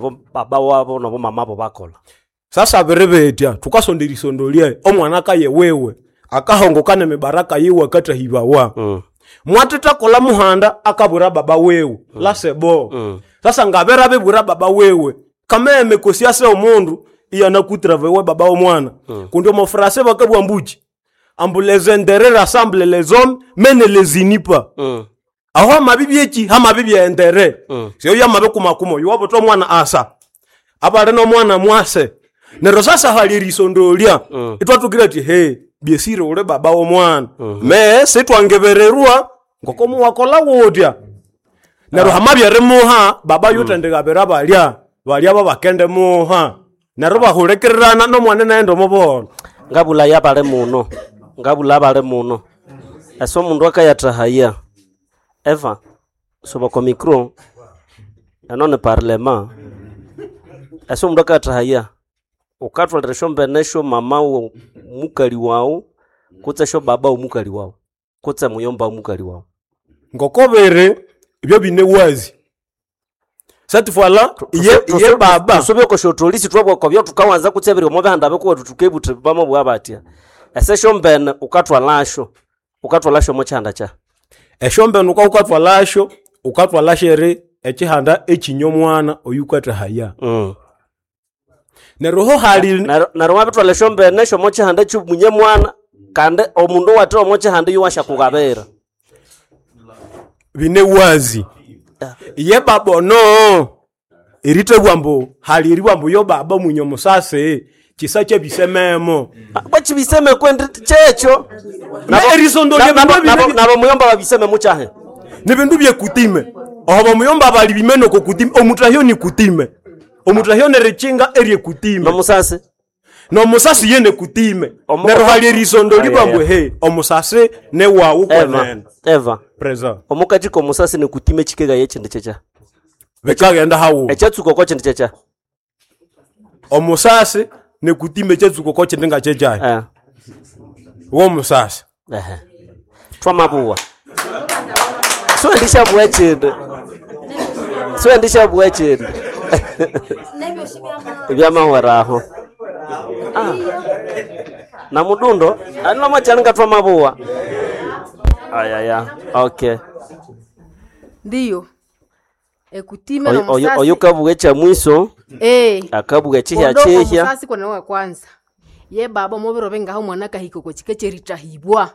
Bo baba wabo nobo mamabo bakola. Sasa biribitya thukasonda erisondolya omwana akaye wiwe akahongoka nemibaraka yiwe akathahibawa. Mwatithakolha muhanda akabwira baba wiwe lasebo. Sasa ngabere abibwira baba wiwe kameme kosi ase omundu iyanakutrava baba w'omwana. Kundi omo frase bakabugha ambuki ambu les intérêts rassemblent les hommes mais ne les unit pas. Aho hamabibya eki hamabibya entere. Syo yamabikumakuma oyu wabutha omwana asa abali n'omwana mwase. Neryo sasa hali erisondolya ithwathukira athi he byesire uli baba w'omwana me sithwangebererwa ngoko muwakolha wutya. Neryo hamabya erimuha baba yuthendigabira balya balya babakendimuha neryo bahulikirirana n'omwana inaghenda omo buholho. Ngabulaya bali muno, ngabula bali muno. Ese omundu akayathahaya Eva soba oko micro eno ni parliament. Ese omundu akayathahaya wukathwalira esyombene syo mama wo mukali wawu kutse esyo baba womukali wawu kutse muyomba womukali wawu. Ngoko biri ebyo bine wazi cette fois là ye baba Tusubye oko syotolisi thwabugha oko byathukawanza kutse ebiri omo bihanda bikuwethu thukebutha bamabugha batya. Ese esyombene wukathwalasyo, wukathwalasyo omo kihanda kyahi? Esyombene wukawukathwalasyo, wukathwalasyo eri ekihanda ekinya omwana oyukathahaya. Neryo ho hali Neryo wabithwalha esyombene syomo kihanda ekyomunye mwana kandi omundu owathe omo kihanda iyowasyakughabira. Bine wazi. Ye baba ono erithabugha ambu hali eribugha ambu yo baba munye omusasi kisa kyabisememo. Bwakibiseme kwendi kyekyo. Erisondolya bindu Nabo muyomba babiseme mukyahi? Ni bindu byekutime. Oho bamuyomba bali bimene oko kutime, omutahyo ni kutime. Omutahyo nerikinga eryekutime. Nomusasi? Nomusasi ye nekutime. Neryo hali erisondolya Aya, ambu aya. he omusasi newawu Eva, kwenene. Eva. Present. Omukati komusasi nekutime kikegaya ekyindi kyekya. Bikaghenda haghuma. Ekyatsuka oko kyindi kyekya. Omusasi nekutime ekyatsuka oko kyindi ngakyekyahi. Womusasi. Ehe. Twamabugha. Siwendishabugha ekyindi. Siwendishabugha ekyindi. Ebyamahwera aho. Na mudundo alino mwakyali twamabugha. Ayaya. Okay. Ndiyo. Ekutime Oyo nomusasi. oyo kabugha ekyamwiso. Akabugha ekyihya Ondo kyihya. omusasi kone wa kwanza. Ye baba omubiro bingaho omwana akahika oko kika ekyerithahibwa.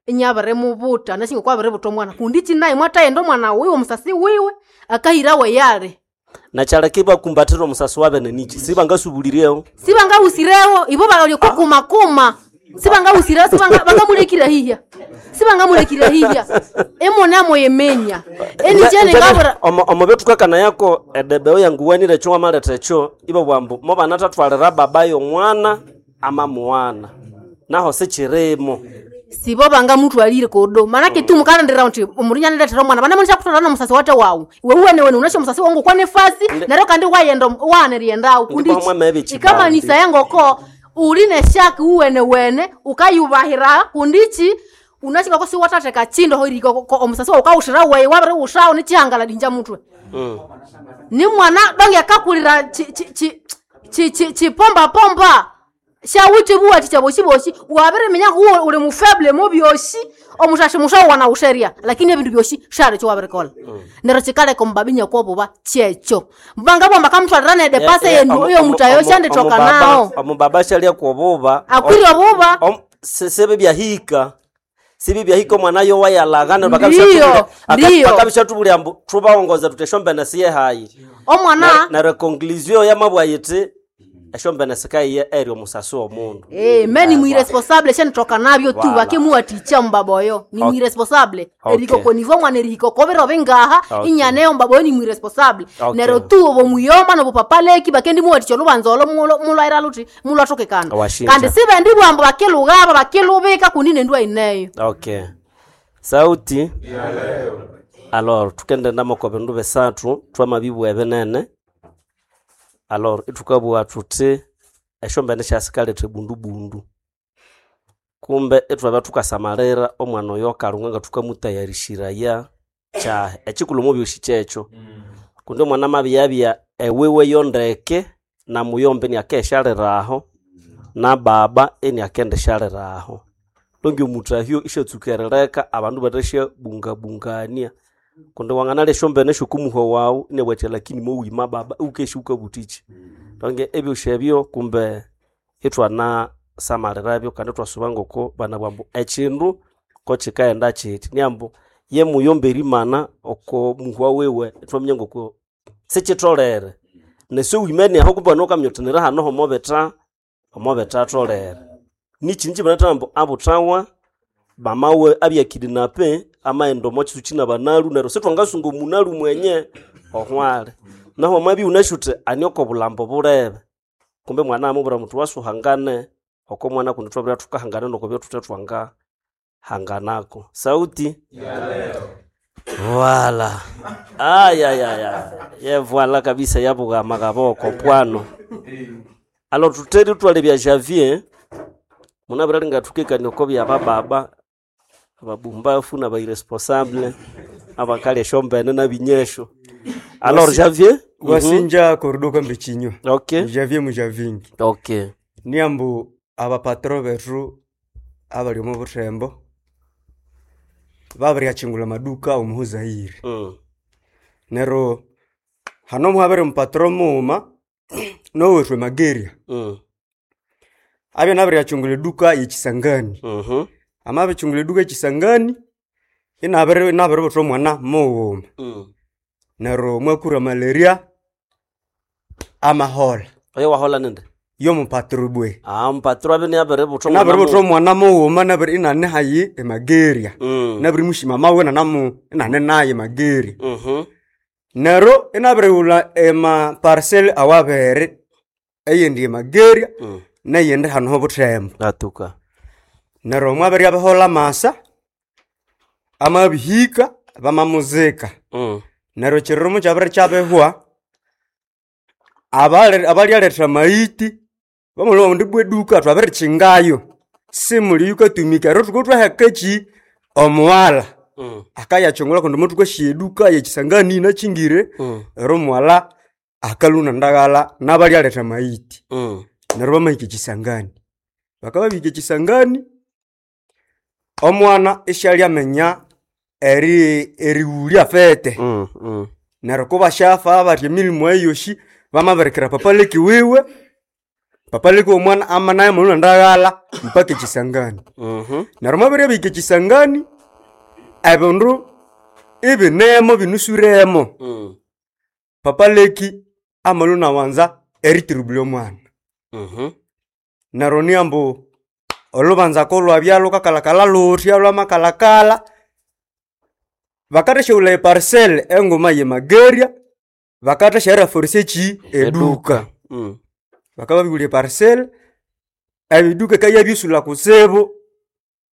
Inyabirimubuta nashinga kwabiributa omwana kundi kinaye mwathaghenda omwana wiwe omusasi wiwe akahira weyali. Nakyaleka ibakumbathira omusasi wabene niki? Sibangasubulirewo. Sibangahusirewo ibo balya kukumakuma. Sibangahusirewo sibanga bangamulekire hihya. Sibangamulekire hihya. Emona moyemenya. Enikyene ngabura Omo byothukakana yako edebeo yanguwanire ekyo wamaletha ekyo ibabugha ambu mobanathathwalira baba y'omwana amamuwana. Naho sikirimo. Sibo bangamuthwalire kodo. Manake tu mukalindira uthi omundu inyanilethera omwana banamunisha kutwala nomusasi wate wawu. Iwe wuwene unasho omusasi wangu kwanefasi neryo kandi wayenda waghana kundi Ndiko mwamebe ekibandi. ikamanisa engoko uli neshaki wuwene wene ukayubahira kundichi unashinga ko siwathatheka chindo hoirika omusasi wawu ukawushira weyi wabiriwushawo nichihangala dinja mutwe. Ni mwana donge akakulira chipomba pomba shawuthi buwathi chaboshi boshi wabiriminya uwe uli mufeble mu byoshi omushashi mushawu wanawusherya lakini ebindu byoshi shali kyo wabirikola. Neryo kikaleka omubabinya kwobuba kyekyo mbanga bwamba kamutwalira nede pase yenu iyo mutayo shandithoka nawo. Omubaba shalya kwobuba. Akwire obuba. Sibi byahika. Sibi byahika omwana yo wayalagha neryo Ndiyo, ndiyo. bakabishathubulya ambu thubawongoza thuthi esyombene siyehayi. Omwana Neryo conclusion yamabugha yithi esyombene sikayiya eri omusasi w'omundu. Me ni mwiresponsable shandithoka nabyo tu Voilà. bakemuwathikya omubaba oyo ni Okay. mwiresponsable. Okay. Erihika oko nivo omwana erihika oko biro bingaha Okay. inyaneyo omubaba oyo ni mwiresponsable. Okay. Neryo tu obomuyomba nobupapaleki bakendimuwathikya olubanza olo mulwaira luthi mulwathokekana. Washinja. Kandi sibendi bwambu bakilughaba bakilubika kundi nendwa ineyo. Okay. Sauti. Alors tukendenda moko bindu bisathu twamabibugha ebinene. Alors ithukabugha thuthi esyombene syasikaletha ebundubundu. Kumbe ithwabya thukasamalira omwana oyo akalhunga nga thukamutayarishiraya kyahi. Ekikulhu omo byosi kyekyo. Kundi omwana amabiyabya ewiwe yondeke na muyomba iniakeshaliraho na baba iniakendishaliraho longi omutahyo ishatsuka erileka abandu batashabungabungania kundi wanganalya esyombene syokumuhwa wawu inabugha lakini mowima baba iwukesya wukabutiki donge ebyosi ebyo kumbe ithwana samalirabyo kandi ithwasuba ngoko banabugha ambu ekindu kokikaghenda kiti niambu yemuyomba erimana oko muhwa wiwe ithwaminya ngoko sikitholere nesiwimene aho kumbe nokaminya uthi niri hano homobitha omobithatholere nikyini kyibanatha ambu abuthawa bamawe abyakidinape amaghenda omo kyitsu kyinabanalhu neryo sithwangasunga omunalu mwenye ohwali nahu wamabya iwunasi uthi ani oko bulhambo bulebe kumbe mwana amubwira muthi wasuhangane oko mwana kundi thwabirya thukahangana noko byathuthe thwangahanganako sauti Voila. Ayayaya. Ye voila kabisa yabuga magaboko pwano. Alo tuteri twale bya Javier. Munabira linga tukekani oko bya bababa ababumbafu na ba irresponsable abakali eshombene na binyesho. Alors Javier? Wasinja korudoka mbichinyo. Okay. Javier mujavingi. Okay. Niambu abapatro bethu abali omu buthembo babiryachingula maduka omu Zaire. Neryo hano muhabere mupatro mughuma nowethu emageria. Abya nabiryachungula eduka yekisangani. Amabichungula eduka yekisangani inabiri inabiributha omwana mughuma. Neryo mwakura malaria amahola. Oyo wahola ninde? Yomupatro bwe. Ah, mpatro abe niabiributha omwana Nabiributha omwana mughuma nabiri inane hayi emageria. Nabirimushima mawe nanamu inane naye emageria. Neryo inabirighulha ema parcel awabere eyindi emageria neyindi hano hobuthembo. Atuka. Neryo mwabirya biholha amasa amabihika bamamuzika. Neryo ekiriro mukyabiri kyabihwa abalyaletha amaghiti bamulhuba bandi ibwa eduka twabirikyingayo simuli yukatumika neryo thuka thwaheka eki omughalha akayakyungulha kundi muthukasya eduka yekisangani yinakyingire neryo omughalha akalhwa nendaghalha nabalyaletha amaghiti. Neryo bamahika ekisangani bakabya babihika ekisangani omwana isyalyaminya erighulya fete. Neryo kubasyafa bathi emilimo eyo yosi bamabirikira papaleki wiwe papaleki womwana ama naye amalhwa nendaghalha mpaka ekisangani. Neryo mwabirya bahika ekisangani ebindu ibinemo binusuremo papaleki amalhwa inawanza eritirubulya omwana. Neryo niambu olhubanza kolhwabya lhukakalhakalha luthya lhwamakalhakalha bakathasyawulha eparcel enguma yemageria bakathasyaraforce eki eduka. Bakabya babirighulha eparcel ebiduka ikayabyisulha kutsibu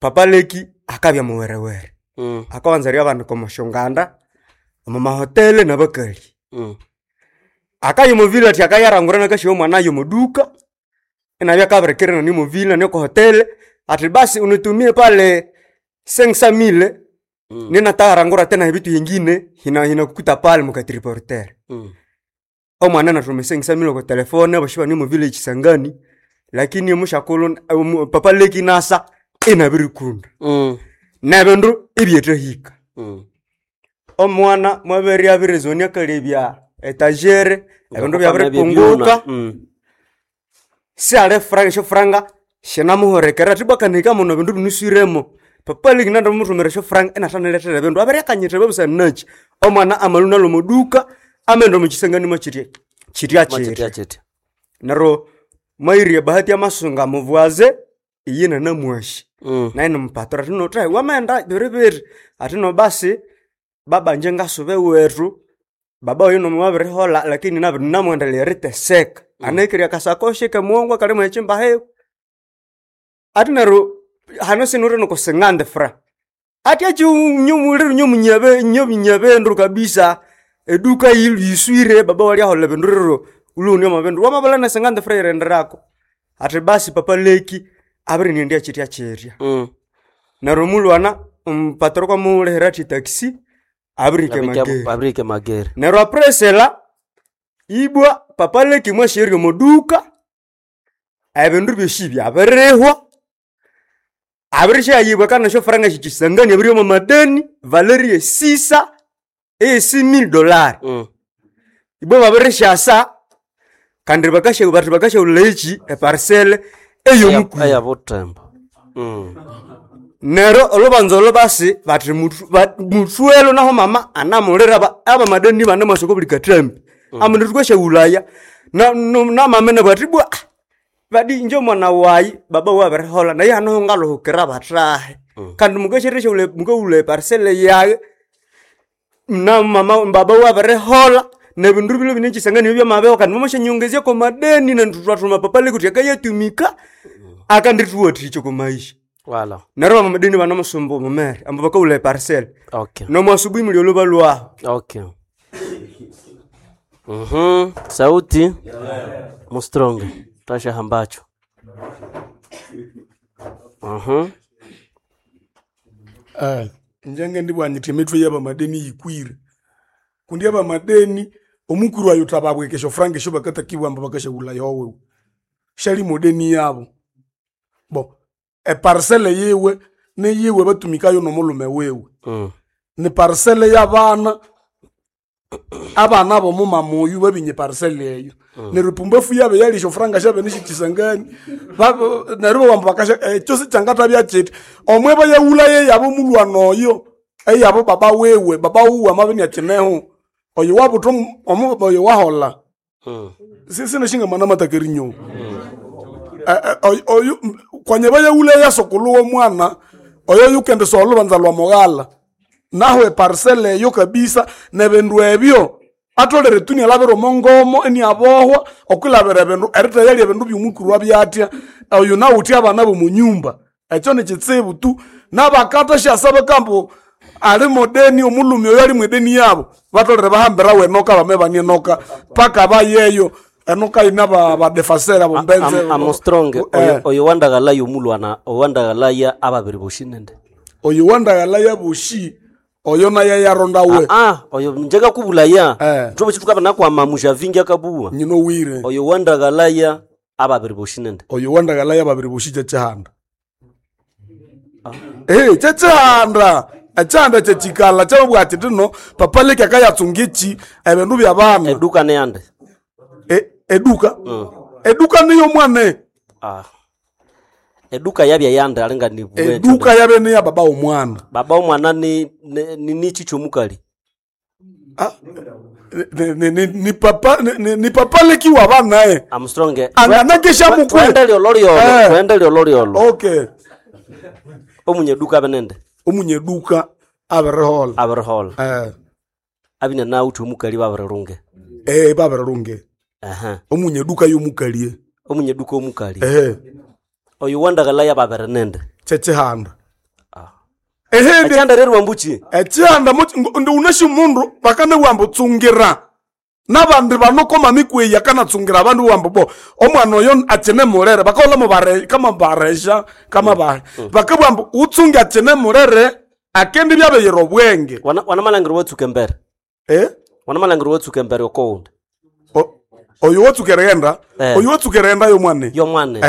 papaleki akabya muwerewere. Akawanza eryabanika omo syonganda omo mahotele nabakali. Akaya omo village athi akayarangura inakasyawa omwana yomo duka inabya akabirikira inane omo villa inane oko hotele athi basi unitumie pale 500,000 ninatagharangura tena ebitu yengine hinakukuta pale mukatriportere. Omwana inathuma 500,000 oko telefone abosi ibane omo village Kisangani lakini omushakulhu papaleki inasa inabirikunda. Nebindu ibyethahika. Omwana mwabere abirizoni akalebya etagere ebindu byabiripunguka siali franga esyofuranga syinamuhulikirira athi ibwa kanahika muno ebindu binuswiremo papaleki nandimuthumira esyofuranga inathanilethera ebindu abiryakanyithibwa busana nakyi omwana amalhwa inalhwa omo duka amaghenda omo kisangani mwakyitya kyitya Mwakyitya kyitya kyitya. neryo mwayirya ebahati y'amasunga mubwaze iye nanamwasi naye nimupatoro athi no thahi wamaghenda biribiri athi no basi baba inje ngasuba ewethu baba oyu nomwabiriholha lakini nabiri eriteseka anahikirye akasakoshi kemughongo akalimu ekyimba hiwe athi neryo hano sinuwithe nokusingandi fra athi akyinyomuliro nyomunyabendu kabisa eduka yiswire baba walyaholha ebindu rero ulhughune omo bindu wamabulha nesingandi fra yirenderako athi basi papa leki abirinendya kyitya kyitya. Neryo omulwana omupatoro kwamulihira athi taxi abirihika emageri. Abirihika emageri. Neryo apresela Ibwa papa Leki mwasherya omoduka, ebindu byosi byabirihwa, abirishyayibwa kandi esyo faranga syekisangani abiri omo madeni valeri esisa eyesi mille dollar. Ibwa babirishasa kandi bakasha bati bakashaghulha eki eparcel eyomukuru. Eya butembo. Neryo olubanza olo basi bati muthwelo naho mama anamulira abamadeni banemwasa oko buli kathambi. Ambu thukashaghulhaya na mama nabwa ati bwa badi inje omwana wayi baba wabiriholha naye hanoho ngaluhukira bathahe. Kandi mukasyathasyaghulha mukaghulha eparcel yayi na mama baba wabiriholha nebindu bilwe bine ekisangani byamabeho kandi mwamasyanyiongezya kwa madeni nendu thwathuma papa Leki thuthi akayatumika akandithuwathikya okwa maisha. Wala. Neryo abamadeni banamusumba omumere ambu bakawulha eparcel. Okay. Nomwasubuhi muli olho balwaho. Okay. Sauti mustronge tasha hambacho. Njenge ndibwanyithi emitwe y'abamadeni yikwire kundi abamadeni omukuru ayo thababweka esyofuranga esyo bakatakibwa ambu bakasyaghulha yowewe syali modeni yabo bo eparcel yiwe niyiwe batumikayo nomulume wiwe. Ni parcel y'abana abana bomumama oyu babinye parcel eyo. Neryo pumbafu yabe yali esyofuranga syabe nisyekisangani neryo bawamba bakasya ekyo sikyangathabya kyithi omwe bayaghulhayo eyabo mulwana oyo eyabo baba wiwe baba wuwe amabya inyakineho oyo wabutha omubaba oyo waholha. Sisinashinga amataka erinyowa. Oyu kwanya bayaghulhayo eyasokulhu w'omwana oyo yukendisogha olhubanza lwa mughalha naho eparcel eyo kabisa nebindu ebyo atholere tu inialabira omo ngomo iniabohwa okwilabira ebindu eritayalya ebindu byomukuru abyatya oyu nawuthi abana b'omunyumba ekyo nikitsibu tu nabakathasyasa bakambu ali modeni omulhume oyo ali mwedeni yabo batholere bahambirawo enoka bame bani enoka paka bayeyo enoka yina badefasere abo mbenze Amustronge oyo wandaghalaya omulwana owandaghalaya ababiri boshi nende. Oyo wandaghalaya boshi oyo naye yaronda we. Oyo njengakubulaya. Njobo chituka nakwama mushavingi akabuwa. Nyino wire. Oyo wandaghalaya ababiri boshi nende. Oyo wandaghalaya ababiri boshi kyekihanda. Kyekihanda. Ekyihanda kyekikala kyababwira ati tino papa Leki akayatsunga eki ebindu byabana. Eduka neyande. Eduka? Eduka niyo mwane. Eduka yabya yande alinga ni bwe. Eduka yabe niya baba omwana. Baba omwana ni nichi kyomukali. Ni papa ni papa Leki wa bana e. Armstrong. Anganakesha mukwe. Twende lyolo. Twende lyolo. Okay. Omunyeduka abenende. Omunyeduka abirihola. Abirihola. Abine na uthi omukali babirirunge. Babirirunge. Omunyeduka yomukalie. Omunyeduka omukali. Oyo wandaghalaya babirinende. Kyekihanda. Ekyihanda rero wambuchi. Ekyihanda ndi unashi mundu bakanabugha ambu tsungira. Nabandi banokoma mikweyi akanatsungira abandu bambu bo omwana oyo akine mulere bakaholha mubare kama baresha kama bahe. Bakabugha ambu utsunge akine mulere akendi byabeyira obwenge. Wanamalangiro watsuka embere. Wanamalangiro watsuka embere okowundi. Oyo watsuka erighenda. Oyo watsuka erighenda yomwane. Yomwane.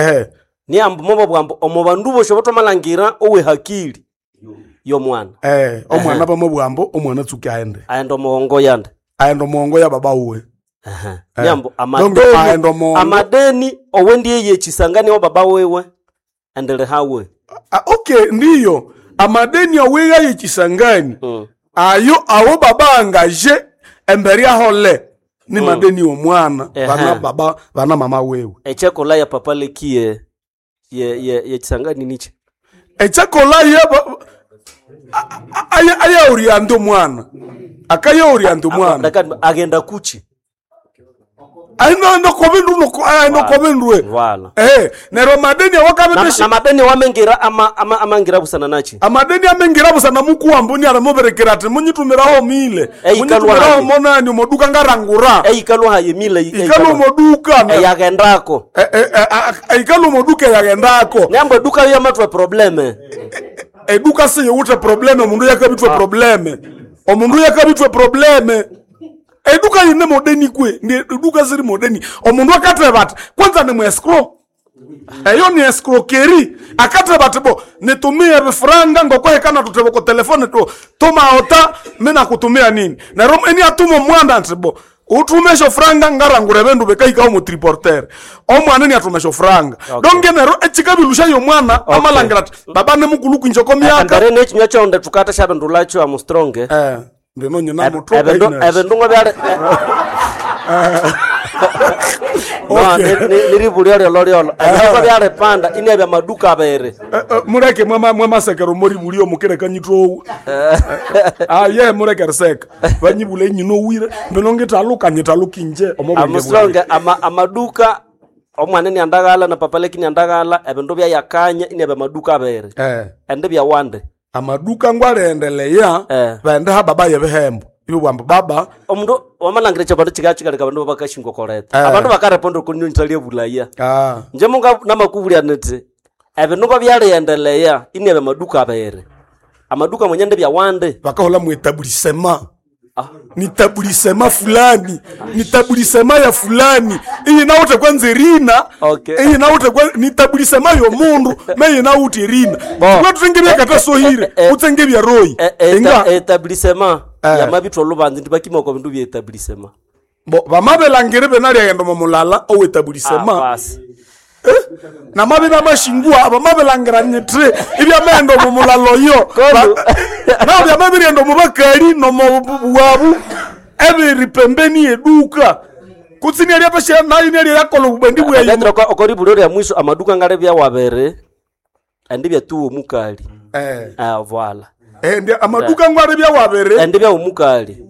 Ni ambu mobo bwambu omo bandu bosho botomalangira owe hakili yomwana. Omwana bamubwambo omwana tsuka aende. Aende omuhongo yande. Aende omuhongo ya baba uwe. Nyambo amadeni amadeni owendi yechisangani wa baba wewe endele hawe. Okay ndiyo amadeni owiga yechisangani. Ayo awo baba angaje embere ahole ni madeni omwana bana baba bana mama wewe. Echakola ya papa lekie ye yechisangani niche. Echakola ya aya oriando mwana. Akaya oriando mwana. Agenda kuchi. Aino no kobendu no aino kobendwe. Wala. Nero madeni awakabetesha. Na madeni wamengira ama amangira busana nachi. Amadeni amengira busana mukuwambu ni aramuberekera ati munyitumiraho mile. Munyitumiraho monani omoduka ngarangura. Ikalu haye mile. Ikalu omoduka. Yagendako. Ikalu omoduka yagendako. Nyambo duka yo matwa probleme. Eduka se yewute probleme omundu yakabitwe probleme. Omundu yakabitwe probleme. Eduka yine modeni kwe ndi eduka siri modeni omundu akatheba ati kwanza ni mwescrow eyo ni escroquerie akatheba ati bo nitumie ebifuranga ngokwehekana tutheba ko telefone tu tumaota minakutumia nini neryo eni atuma omwana nti bo uthume esyofuranga ngarangura ebindu bikahikaho omu triporter omwana eni athuma esyofuranga Okay. donge neryo ekikabilushayo omwana amalangira ati baba nimukulhu kwinje oko myaka Embere n'ekinywa kyonde thukatha syabindulakyo amustronge Eh, ndino nyina muthoka ebindu inasi. ebindu ngobyali no niribulyo lyolo lyolo ebindu ngobyalipanda inabya maduka abiri Eh, eh, muleke mwamasekero moribulio mukireka nyitowu aye muleke riseka vanyibula enyina owire mbino ngitaluka nyitaluka inje amusonge ama, amaduka omwana niandaghala na papa leki niandaghala ebindu byayakanya inabya maduka abiri ende byawande amaduka ngwaliendeleya Eh. vende ha baba yebihembo ibibwamba baba omundu wamalhangira ekyabandu kikakikaleka abandu babakashingokoleta Eh. abandu bakareponda okunyonyitalya bulaya ah, nje munga namakubulya niti ebindu ngobyaliendeleya inabya maduka abiri amaduka mwenye ndi byawande vakahola muetabulisema Ah. ni tabulisema fulani ni tabulisema ya fulani iyi nawuthe kwanza erina Okay. iyi nawuthe ni tabulisema yomundu meyi nawuthe erina kwethuthenge Eh, eh, utsenge byaroyi inga etablissement Eh. yamabithwa olubanza ndibakima kwa bindu bya etablissement bo vamabelangire benalyaghenda omo mulala Ah, owetabulisema basi namabi namashingua vamabelangira nyitri ibyamaghenda omo mulala oyo Kolu. nao byamabirighenda omo bakali nomo bwabu ebiri pembeni yeduka kutsi nialyapasha nayo nialyayakola obubendi bwayi Ndetera okoribulyo lya mwiso amaduka ngale byawabere andi byatuwa omukali eh ah voila eh, ndi amaduka ngwari byawabere andi bya omukali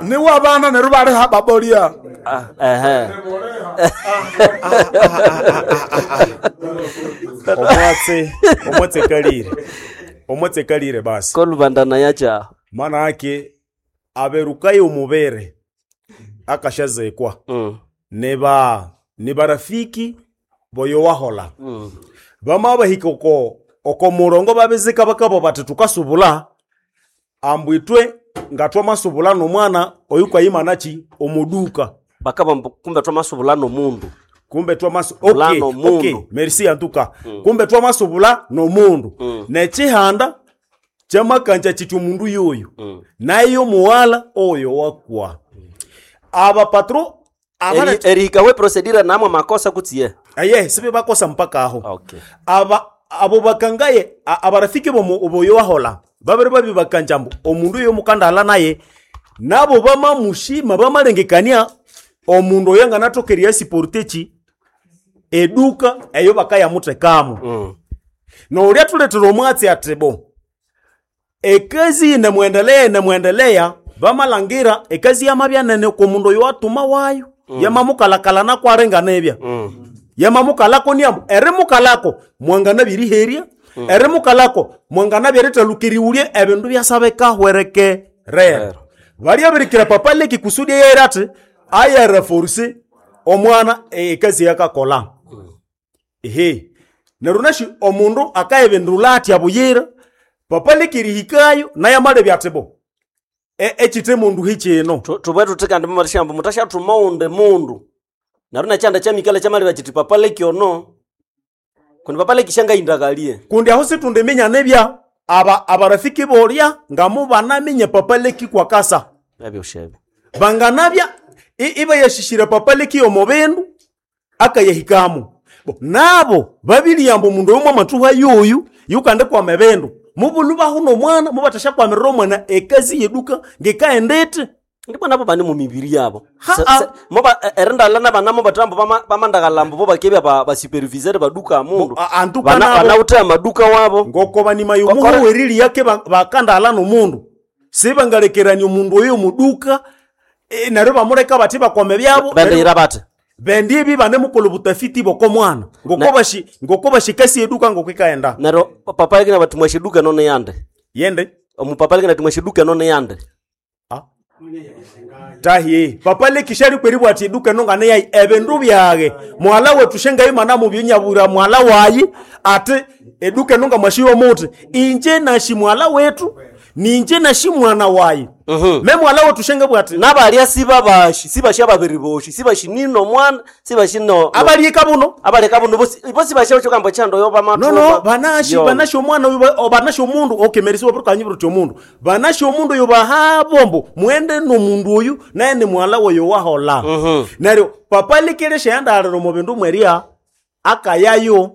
niwo abana neryo bali ha babolya ah ehe omwatse omwatse kalire omwatse kalire basi kolubandana yacha maana ake aberukayo omubere akashazekwa neba ni barafiki boyo wahola bama bahika oko oko murongo babizika bakabo bati tukasubula ambu itwe nga twamasubula nomwana oyu kwayimanachi omuduka bakaba mbu kumbe twamasubula nomundu kumbe twamasu Bula okay, nomundu. okay. merci antuka kumbe twamasubula nomundu nechihanda chamakanja chiti omundu yoyo nayo muwala oyo wakwa aba patro abana erihika we procedure namwe makosa kutsiye aye sibe bakosa mpaka aho okay aba abo bakangaye abarafiki bomu boyo wahola babere babi bakanjambo omundu oyo mukandala naye nabo bamamushima bamalengekania omundu oyo anganatokeria siportechi eduka eyo bakayamutekamo noulya tuletera omwatsi atibo ekazi inemwendelea inemwendelea bamalangira ekazi yamabya nene komundu oyo atuma wayo yamamukalakala nakwarenga nebya yamamukalako niambu erimukalako mwangana biriherya erimukalako mwangana byerithalukiriwulye ebindu byasabekahwereke rero balya birikira papa leki kusudi yera ati ayareforce omwana ekazi yakakola ehe neryo nashi omundu akayibindula atya buyira papa lekirihikayo naye amalebya ati bo ekite mundu hikino tubwe tuthi kandi mumarishambu mutashathuma undi mundu neryo nekyanda kyamikala kyamalebya kiti papa leki ono kundi papa leki syangayindakalie kundi aho situndiminya nibya aba abarafiki bolya nga mubanaminya papa leki kwakasa ebyoshebe banganabya ibayashishira papa leki omo bindu akayahikamo Bo, nabo babiliyamba omundu oyo mwamathuha yoyu yukande kwama ebindu mubulu bahu nomwana mubathashyakwamirira omwana ekazi yeduka ngekaendete ndibona abo bane mumibiri yabo Ha, Se- ah. se- moba erindala nabana mobathambo bamandakalambo bo bakebya basupervisere baduka mundu Bo, antuka Bana- nabo. banawuthe amaduka wabo ngoko banima Kokora- yomuhuwerili yake bakandala nomundu sibangalekerania omundu oyo muduka neryo bamuleka bathi bakwame byabo bendeyira bathi bendi ebi banemukola obutafiti bokomwana ngoko bashi ngoko bashikasi eduka ngoko ikaenda neryo papa leki nabathi mwashiduka nono yande yende omupapa leki nathi mwashiduka nono yande tahi papa lekishali kweri bwati eduka nongane yayi ebindu byage mwala wetu shengayi mana mubyo mwala wayi ati eduka nonga mwashiwa muti inje nashi mwala wetu Ninje nashi mwana wayi. Me mwala wetu shenge bwati. Nabalya sibabashi sibashi ababiri boshi sibashi nino mwana sibashi no Abalika buno. abaleka buno bosi bosi bashe kyokambo kyando yo No no banashi banashi omwana oyu banashi omundu okay merisi waburuka nyibiro kyomundu. Banashi omundu oyu bahabombo mwende nomundu oyu naye ni mwala woyo wahola. Neryo papa likelesha yandalero mu bindu mweria akayayo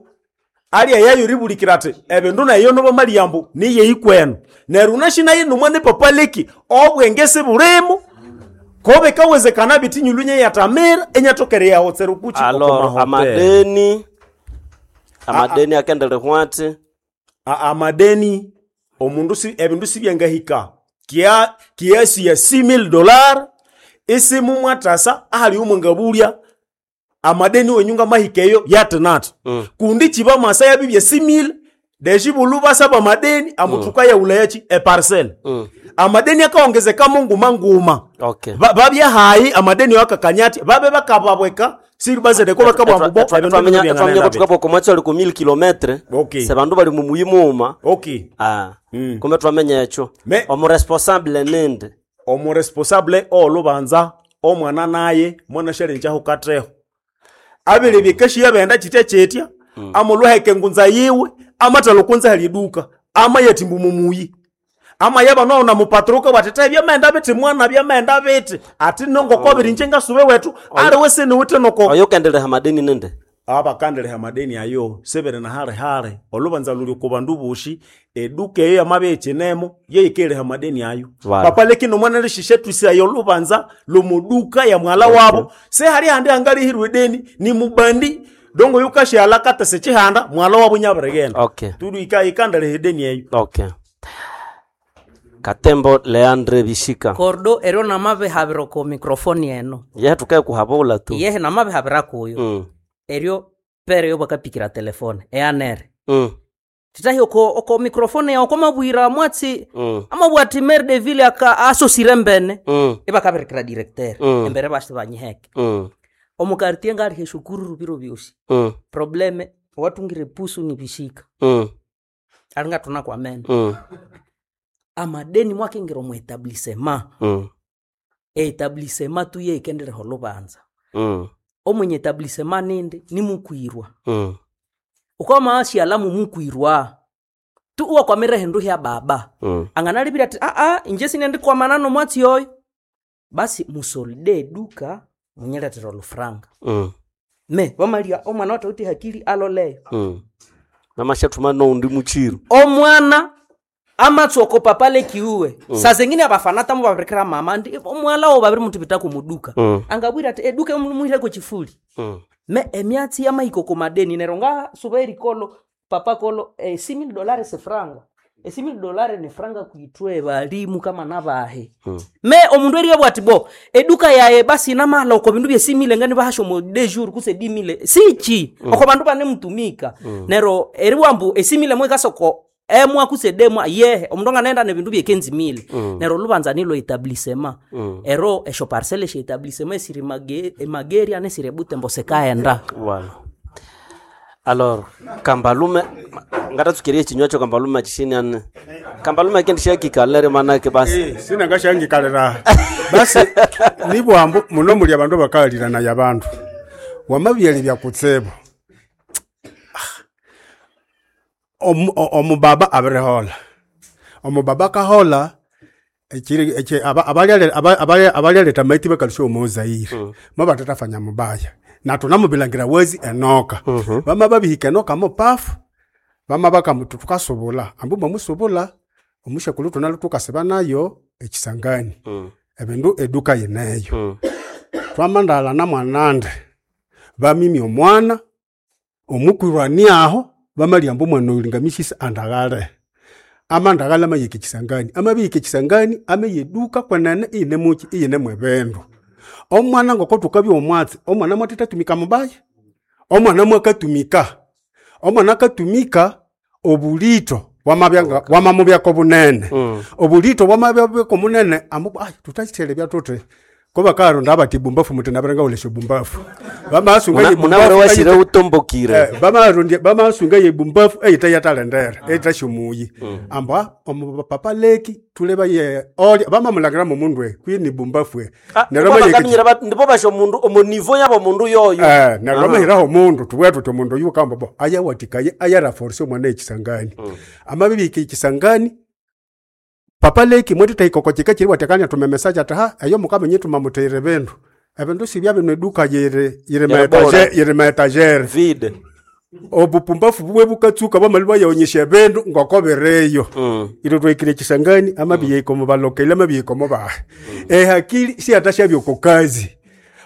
alia yayo ribulikira ati ebindu nayo nobo maliambo niye ikwenu. Neryo nashi naye nomwana papa leki obwenge sibulimo kobe kawezekana biti nyulunye yatamira enyatokere yaho tserukuchi Alors amadeni akendele hwati amadeni omundu si ebindu sibyangahika kia kiasi ya $6,000 isimu mwatasa ahali umwe amadeni wenyunga mahikeyo yatinati kundi chiba masa yabibye 6,000 deshibulu basaba madeni amutuka ya ulayachi e parcel amadeni akaongezeka munguma nguma Okay. Babya hayi amadeni wakakanyati babe bakababweka siri bazedeko bakabwambubo Twamenya kutukapo komwacho ali ku 1000 km Okay. se bandu bali mu muyimuuma okay kumbe twamenya ekyo omuresponsable ninde omuresponsable olubanza omwana naye mwana shalenjaho kateho abelebye keshi yabenda chitya chetya amulwaheke ngunza yiwe amatalo kunza haliduka ama yetimbu mumuyi ama yaba nona mupatruka watete byamenda biti mwana byamenda biti ati nongo kobiri nje ngasube wetu ari wese ni wite noko oyo kendeleha madeni ninde abakandeleha madeni ayo sebere na hale hale olubanza luli ku bandu boshi eduka eyo yamabe echinemo yeikeleha madeni ayo Vale. papa lekino mwana lishishe twisi ayo lubanza lumuduka ya mwala wabo se hali handi angalihirwe deni ni mubandi dongo yukashala kata sechihanda mwala wabo nyabiregenda Okay. tudu ika ikandeleha edeni eyo Okay. Katembo Leandre Bishika kordo eryo namabihabira ko microphone eno yehe tukaye kuhabula tu yehe namabihabira kuyo eryo pere yo bakapikira telefone eanere titahi oko microphone yawo komabwira mwatsi amabwati maire de ville aka asosire mbene ibakabirikira directeur embere basi banyiheke omukartie ngalihe shukuru rubiro byosi probleme watungire pusu ni bishika alinga tuna kwa meno amadeni mwakengera omu etablissement etablissement tu yeikendeleho olubanza omwenye etablissement nindi nimukwirwa ukwamaashialamu mukwirwa tu uwakwamire hindu hya baba anganalibira ati aa inje sinendikwamana nomwatsi oyo basi musolide eduka munyiletera olufranga me wamalia omwana watauti hakili aloleyo namashathuma noundi muchiru omwana amatsoko papale kiuwe saa zengine abafana tamu babirikira mama ndi omwala wo babiri mutu pita kumuduka angabwira ati eduka muhireko chifuli me emyatsi yamahiko komadeni nero nga suba erikolo papa kolo $6,000 sefranga $6,000 ni franga kuitwe balimu kama nabahe me omundu eriabwa ati bo eduka yaye basi namala oko bindu bye 6,000 ngani bahasha omo de jour kuse 10,000 sichi oko bandu bane mutumika nero eriwambu e6,000 mwekasoko emwa kuse demwa yehe omundu anganaenda nebindu bye 15,000 nero lubanza nilo etablissement ero esho parcelle eshe etablissement esiri emageria nesiri ebutembo sekaenda Voilà. Alors, kambalume ngatatsukirie chinywa cho kambalume chishini ane. Kambalume kendi shakikalere manake basi. Sina ngashangikalira basi nibwambu muno muli abandu bakalirana abandu wamabyali byakutsibu omubaba abirihola omubaba akahola abalyaleta amaiti bakalusha omuzaire mabatatafanya mubaya natunamubilangira wezi enoka bama babihika enoka mupafu bama bakamutu tukasubula ambu mwamusubula omushakulu tunalo tukasiba nayo ekisangani ebindu eduka yineyo twamandala na mwanande bamimya omwana omukwirwani aho bamalyamba omwana oyu lingamishisa andaghale amandaghala amayika ekisangani amabiyika ekisangani ameyeduka kwenene iyinemuki iyinemu ebindu omwana ngoko tukabya omwatsi omwana mwatithatumika mubaya omwana mwakatumika omwana akatumika obulito wamamubyako bunene obulito bwamabyako munene ambu ai tutakithelebya tuthi Ko bakaronda bati bumbafu muti nabirenga ulesho bumbafu. Bamasunga ye Munabere bumbafu. washire utombokire. Bamarondia bamasunga ye bumbafu eyita yatalendera eyita shomuyi. Amba omu papa leki tuleba ye oli bamamulangira mu mundwe kwini bumbafu. Neryo ndipo basho mundu omu niveau yabo mundu yoyo. Neryo bamahiraho omundu tubwira tuti omundu oyu kamba bo ayawatikaye ayaraforce omwana ekisangani. Amabibika ekisangani papa leki mwethu ikoko chika chiri watekanya tumemesaja ati ha eyo mukamenye tumamuteire bindu ebindu sibya bino eduka yiri yiri Yeribora. yiri maetagere Vide. Obupumbafu bubwe bukatsuka bamali bayonyesha ebindu ngoko bireyo. Ilo twekire ekisangani amabi balokele amabi bahe ehakili siyatashabya oko kazi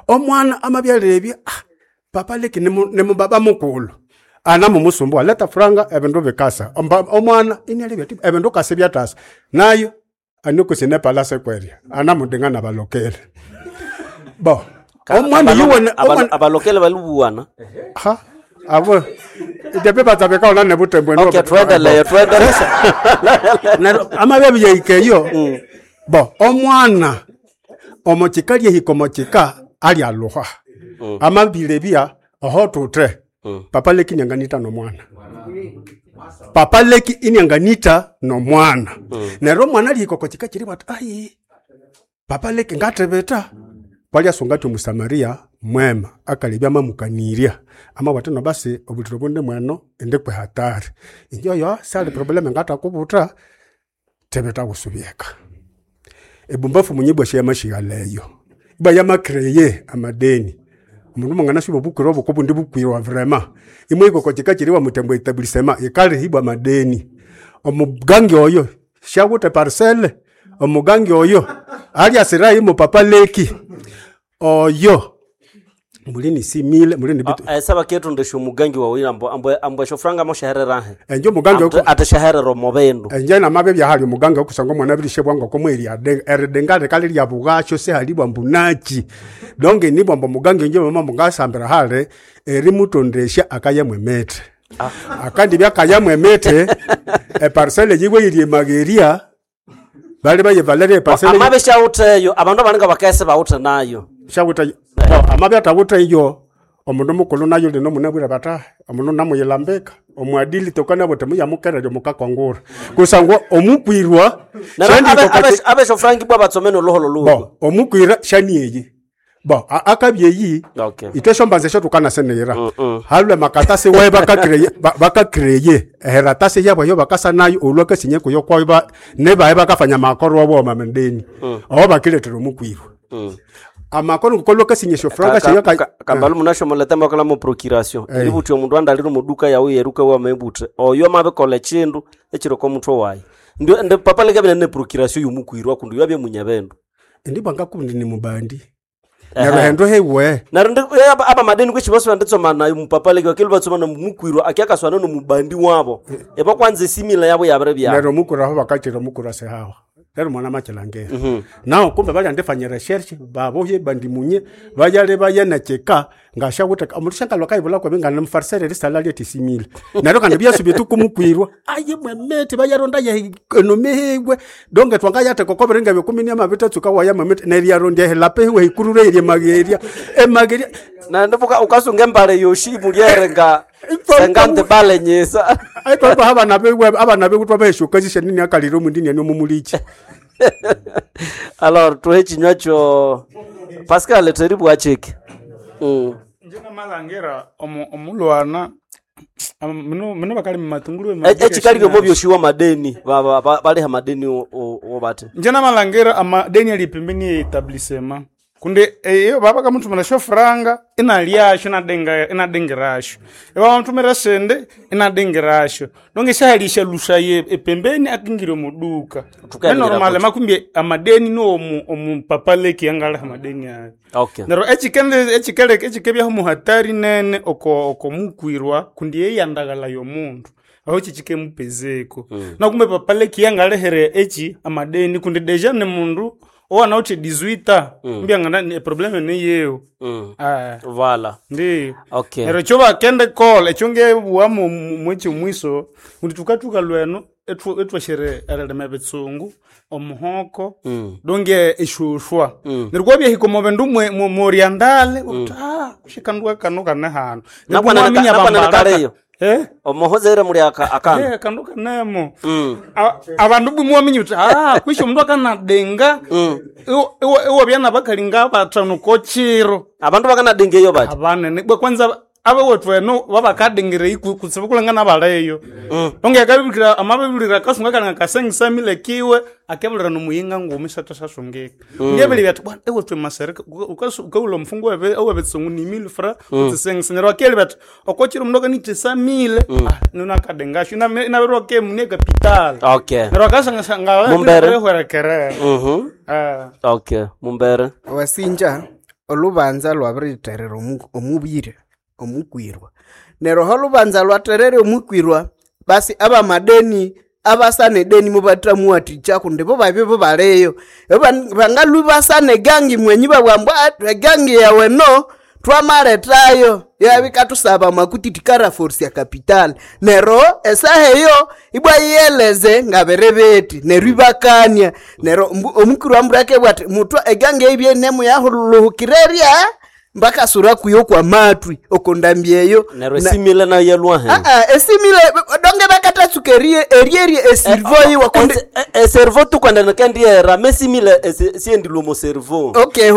omwana amabyalebya ah, papa leki ni mubaba mukulu ana mumusumbua leta franga ebindu bikasa. Omwana inialebya ti ebindu kasa byatasa nayo anikusi palase kwerya ana mudinga nabalokele bo omwana yuwene omwana Abalokele balubuwana. Ha abo depe batsabeka ne butembo. Okay, tuendelee, tuendelee. Neryo amabya yaikeyo bo omwana omochika lyehika omochika alyaluha amabile oho tute papa leki nyanganita nomwana papa leki inyanganita nomwana. Neryo omwana lyehika okochika chiri bwati ai papa leki ngatebeta kwalyasunga omusamaria mwema akalebya mamukanirya amabwati no basi obuliro bunde mweno indi kwe hatari injo yo sali probleme ngatakubuta tebeta kusubyeka ebumbafu munyibwa shyamashighaleyo iba yamakreye amadeni omundu mungana sibo bukwira obuko bundi bukwirwa vrema imwe ikoko chika chiriwa mutembo etablissement ikalihibwa amadeni omugangi oyo shawute parcelle omugangi oyo alyasira imo papa leki oyo mulini simile mulini bitu. Saba ketu ndesho mugangi wawe ambo ambo ambo shofranga mo shahererahe. Enjo mugangi Ateshaherera omu bindu. Enje namabe byahali omugangi okusanga omwana abirishe bwangu komweri eridenga rikali lya bugasho sehalibwa mbunachi donge nibwa mbo mugangi nje mama mungasambira hale erimutondesha akayamwe mete akandi byakayamwe mete eparcelle yiwe iri mageria bali baye valerie parcelle. Amabe shawuteyo abandu abaninga bakese bawuthe nayo. Shawuta amabe atawuta iyo omundu mukulu nayo lino munabwira bata omundu namuyilambika omwadili tokana bote muyamukererya mukakongura kusangwa omukwirwa Neryo shandi abesho frangi bwa batsomene oluholo lugo. Bo omukwira shani eyi bo akabyeyi. Okay. Ite shombanza esho tukanasenera halwe makatasi wae bakakreye bakakreye eheratasi yabo yo bakasa nayo olwa kasinye kuyo kwayo ba nebae bakafanya makoro wabo mamendeni aho bakiletera omukwirwa amakoro ngukolwa kasinye shofranga sheyo Kambalu munashomola temba kala mu procuration ilibuthi omundu andalire omuduka yawe yeruka wamebuthe oyo amabikola echindu ekiriko omutwe wayi ndio ndi papa leka bine ne procuration yomukwirwa kundi yabye munyabendu. Ndibwa ngakundi ni mubandi neryo hendo hewe. Neryo aba madeni kwishi bose banditsoma nayo mupapa leka bakili batsoma na mukwirwa akiakaswana nomubandi wabo eba kwanza esimila yabo yabere byabo. Neryo mukura aho bakachira mukura sehawa rero mwana machilangera nao kumbe balyandifanya research babohye bandimunye bayale bayenecheka ngashawuta omulushanka lwakaibula kwabe ngana mfarisere risala lyetisimile neryo kandi byasubye tukumukwirwa aye mwemete bayaronda ye enomehegwe donge twangayate kokoberenga byokumi amabitatsuka waya mwemete neryaronda helape hiwe hikurure irye mageria emageria. Na ndibuka ukasunga embale yoshi mulyerenga sengante bale nyisa. Aitwa abana bewe abana bewe twabaheshukazisha nini akaliro mundini ani omumulichi. Alors tuhe chinywa cho Pascal teribwa chiki. Nje namalangira omulwana mino bakali mumatungulu. Echikalire mo byoshiwa madeni baliha madeni obate. Nje namalangira amadeni ali pembeni ya etablissement kundi eyo baba kamutumira shofranga inalyasho inadenga inadengerasho eba bamutumira sende inadengerasho donge shahalisha lusha ye epembeni akingire muduka. Tukaendelea normal kuti. Makumbi amadeni no omu omupapaleki yangaliha madeni ayo. Okay. Neryo ekikende ekikeleka ekikebyaho muhatari nene oko oko mukwirwa kundi yeyandagala yomundu aho kikikemupezeko nakumbe papaleki yangalehere eki amadeni kundi deja ni mundu owanawuthi 18 mbyangana ni probleme niyewo. Ah, Vala. ndiyo. Okay. Neryo ekyo bakende kola ekyo ngebuwa mweki mwiso kundi tukatuka lweno. etwashere erilima ebitsungu, omuhoko, donge eshushwa. Neryo kwabyahika omo bindu moriandale, uthi ah, kushikandwa kano kane hano. Nakwana Mwaminya nakwana bambalaka. kaleyo. Eh? Omuhoza ere muri aka akana. Eh, kandu kanemo. Abandu bwimwaminya uthi ah, kwisha omundu akanadenga. Iwabya nabakalinga bathanu kochiro. Abandu bakanadenga eyo bati. Abanene bwe kwanza abawethu eno babakadengera kutsibu kulangana baleyo. Onge akabibikira amabibirira akasunga kalinga kasengisa milekiwe akebulira nomuyinga ngumi satasasungika. Ngebele byati bwana ewethu emasereka ukaula omufungu webe owebetsungu ni mille fra utsisengisa neryo akeli byati okochiro omundu akanithisa mille ah nino akadengasho inabirwa ke mune capital. Okay. Neryo akasanga Mumbere. hwerekerera. Mhm. Ah. Okay, mumbere. Wasinja olubanza lwabiritherera omubiri omukwirwa neryo aho olubanza lwatherere omukwirwa basi abamadeni abasana edeni mubathamuwathikya kundi bo babye bo baliyo bangalwi basana egangi mwenyi babugha ambu "Ah, egangi yawe no twamaletayo yabikathusaba makuti tikaraforsia capital neryo esaha eyo ibwa yiyeleze ngabiribiti neryo ibakania neryo omukwirwa mbura akebugha athi muthwa egangi eyibye nemuyahulhuhukirerya mbakasura kuyo kwa matwi okondambi eyo Neryo esimile nayo yalwa he. Esimile donge bakatatsuka erie erierie esirvo yiwa kundi Eservo tukwenda kendiera mesimile siendilwe mo servo. Okay,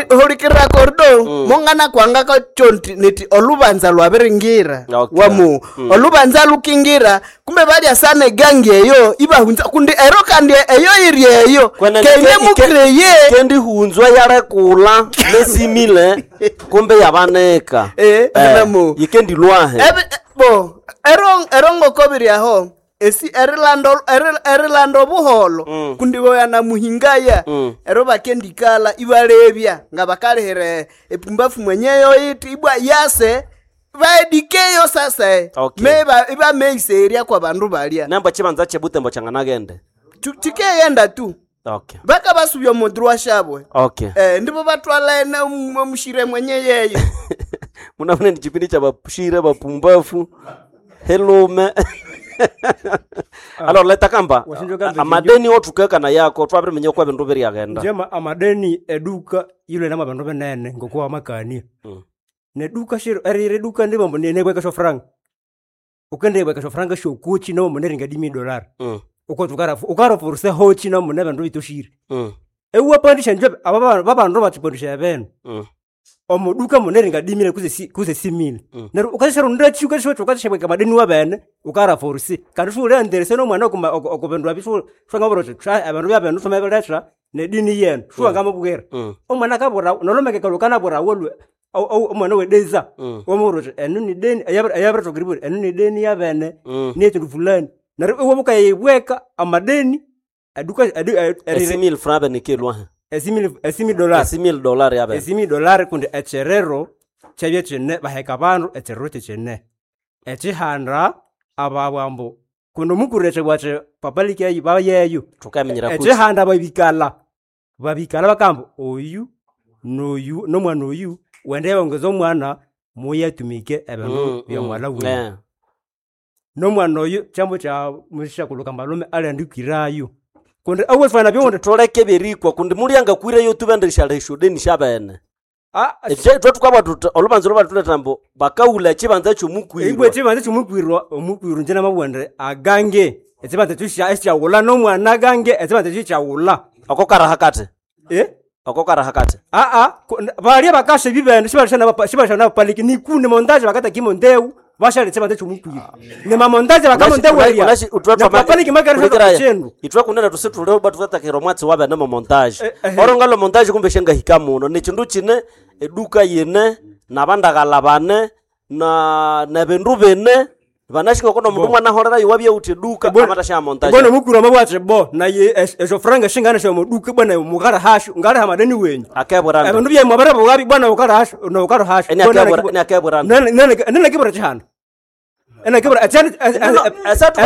hulikira kordo mongana kwanga kacho niti olubanza lwabiringira Okay. wamu olubanza lukingira kumbe balya sana egangi eyo ibahunza kundi ero kandi eyo iri eyo keine mukreye kendihunzwa yarekula mesimile kumbe yabaneka. Namo. Yikendilwahe. Bo ero ero ngokobiri aho esi erilando erilando obuholo kundi boyana muhingaya ero bakendikala ibalebya nga bakalihira epumbafu mwenyeyo iti ibwa yase baedikeyo sasa Okay. meba ibameiseria kwa bandu balya Nembo chibanza chebutembo changanagende. Chikeyenda tu Okay. bakabasubya omudru shabwe Okay. Ndibo batwala ene omushire mwenye yeyo Munafune ni chipindi cha bashire bapumbafu helume. Alors leta kamba Washinjwa kamba amadeni othukekana yako twabiriminya kwa bindu biryaghenda. Njema amadeni eduka yule nama bandu benene ngokuwa amakania. Neduka shiro erire duka ndibombo nenebweka sho franc. Ukendebweka sho franc shokuchi no muneringa dimi dollar. Uko tukara ukara forse hochi no mune bandu bitoshire. Ewa pandisha nje aba babandu batipandisha beno. Omuduka muneringa dimile kuze si, kuze simile. Neru ukashira ndachi ukashira ukashira madeni wabene ukara forse. Kandi shule anderse no mwana okuma okubendwa bishu shanga boroche abandu byabene tumebelesha nedini yenu shuwa ngamubwira. Omwana kabura nolomeke kalukana bura wolwe omwana wedeza wamuroti enu ni deni ayabira tokiriburi enu ni deni yabene netindu fulani neryo iwe mukayibweka amadeni aduka adu Esimile franc benikilwahe. esimile esimile dollar Esimile dollar yabe. esimile dollar kundi ekyerero kyabye kyine baheka abandu ekyerero kyekyine ekihanda ababwambu kundi omukuretse bwathe papaliki bayeyo Tukaminyira kuti. ekihanda babikala babikala bakamba oyu noyu nomwana oyu wende bongeza omwana muyatumike ebindu byomwala wiwe nomwana oyu kyambo kya mushakuluka malume aliandikirayo kundi awefana byonde Tuleke berikwa kundi mulyanga kwireyo tubendesha eshodeni shabene. Etwe tukabwa tuta olubanza lubatuleta mbu bakaula ekibanza ibwe kyomukwirwa. ekibanza kyomukwirwa omukwirwa nje namabwende agange ekibanza ekyo ekyawula nomwana agange ekibanza ekyo kyawula Oko karahakate. Oko karahakate. aa balya bakasha ebibene shibalishana nabapaliki nikune mondaje bakata kimondeu bashali ekibanza kyomukwirwa nemamondaje bakamondewerya napapaliki makarichendu Itwe kunene tusitule batukatakira omwatsi wabene mu montage. Orongalo montage kumbe shengahika muno nekindu kine eduka yine nabandagala bane na nebindu bine vanashinga kono mundu mwana horera yuwabye uti eduka amatasha montage. bwana omukuru amabwathe bo naye esyo franga shingana syomuduka bwana mukara hashu ngaliha madeni wenyu Akebura ebindu byemwe barabughabi bwana ukara hashu nokara hashu Eni akebura eni akebura. nenakibura kihanda enakibura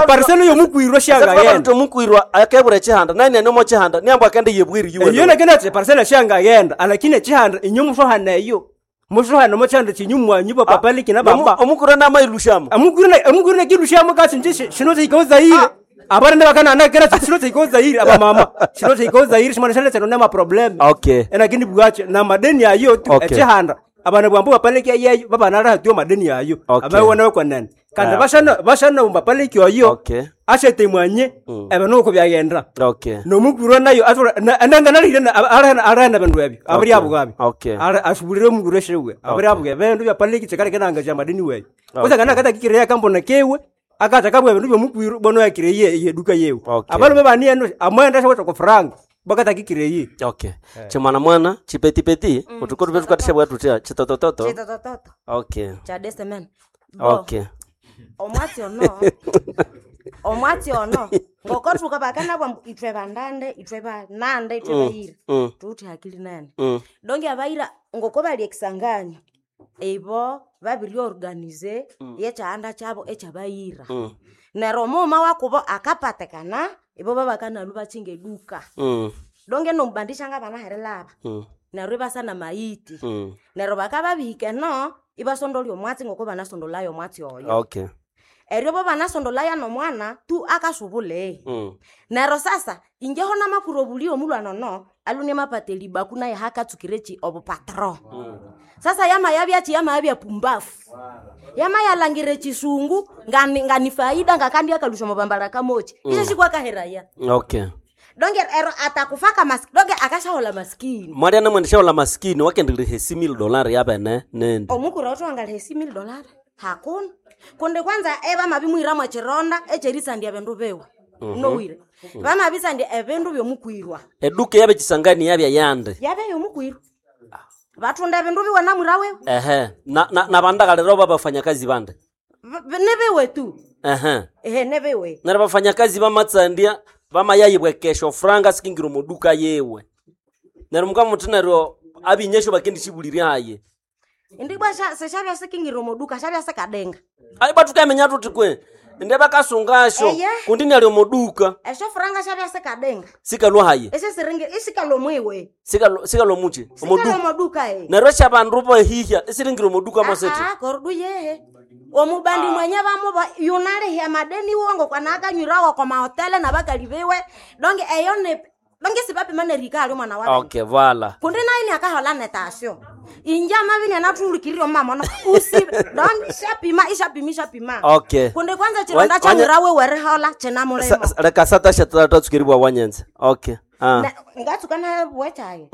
epariselo yomukwirwa shangayenda Omukwirwa akebura ekihanda nani aniomo kihanda niambu akende yebwiri yuwe. iyo nakenda ati epariselo shangayenda alakini ekihanda inyo mushohana eyo mushohana mochihanda chinyu mwanyu bapapaliki na baba Omukwirwa namailushamo. Omukwirwa nakilushamo kasi nje shino zikaozaire Abarende bakana kera chilo chaiko Zaire abamama. Chilo chaiko Zaire shimana shale chano nema problem. Okay. Enakini bwache na madeni ayo tu Okay. echihanda. Abana bwambu bapaleki ayeyo babanara hatio madeni ayo. Okay. Abawana kwanene. Kandi Ah. bashana bashana umbapaleki ayo. Okay. Ashete mwanye ebano ko byagenda. Okay. Nomukuru nayo atora nanga nalire arahana bindu ebyo. Abari Okay. abugabi. Okay. Ashubulire omukuru eshewe. Abari Okay. abugabi bindu byapaleki chikale nanga cha madeni weyo. Okay. Kusangana kata kikireya kambona kewe akata kabwa bindu byomukwiru bono yakireye yeduka yewe. Okay. Abalume bani eno amwenda shaweta ko franga bakata kikireye. Okay. Chimwana mwana chipetipeti utuko tupe tukatisha bwa tutia chitotototo. Chitotototo. Okay. Cha desemen. Bo, Okay. Omwatsi ono. Omwatsi ono. Ngokothuka bakana bwa ithwe bandande, ithwe banande, ithwe bayira. Tuthi hakili nene. Donge abayira ngoko bali ekisangani. Ibo babiri organize yekyahanda kyabo ekyabayira. Neryo omughuma wakubo akapatikana ibo babakanalu bakyinga eduka. Donge nomubandisha ngabanaherilaba. Neryo ibasa maiti. Neryo bakababihika eno ibasondolya omwatsi ngoko banasondolaya omwatsi oyo. Okay. Eryo bo banasondolaya nomwana tu akasubule. Neryo sasa injeho namakuru obuli omulwana ono alune mapateli baku naye hakatsukirechi obupatro. Sasa yama yabyachi yama yabya pumbafu. Yama yalangire chisungu ngani ngani faida ngakandi akalusha mabambala kamochi. Isho shikwakaheraya. Okay. Donge ero atakufaka maskini. Donge akashahola maskini. Mwaria namwendesha ola maskini wakendilihe simil dolari yabene nende. Omukuru otwangalihe simil dolari. Hakuna. Kundi kwanza eba mabimwira mwachironda echerisandya bindu biwe. Nowire. Bamabisandya ebindu byomukwirwa. Eduka yabe chisangani yabya yande. Yabe yomukwirwa. Batunda ebindu biwe namwira wewe. Ehe. Na na, na bandakalero babafanyakazi bande. Nebiwe tu. Ehe. Ehe nebiwe. Nara bafanyakazi bamatsandia bamayayibwe kesho franga sikingira omuduka yewe. Nero mukamuthi neryo abinyesho bakendishibuliria haye. Indibwa seshabya sikingira omuduka shabya sikadenga. Ayi batukamenya tuthi kwe inde bakasungasho Eye. kundi nali omuduka Esho franga shabya sikadenga. sikalwa haye. Eshe siringi isikalo mwiwe. Sikalo sikalo muchi Sikalo omuduka. omuduka e. Neryo syabandu bahihya isiringira omuduka mosete. Ah, korudu yehe. Omubandi mwenye bamuba yunalihya madeni wongo kwanakanyirawo kwa mahotele nabakali biwe. Donge eyo ne donge sibapima nerika ali mwana wabe. Okay, vala. Kundi naye ni akahola netasyo. Inja mabini anatulukirio mama no usi donge ishapima ishapima ishapima. Okay. Kundi kwanza chironda Wanya- cha mwira wewe rihola chena mulimo. Leka satasha tatsukiribwa wanyenze. Okay. Ah. Ngatsuka na bwechaye.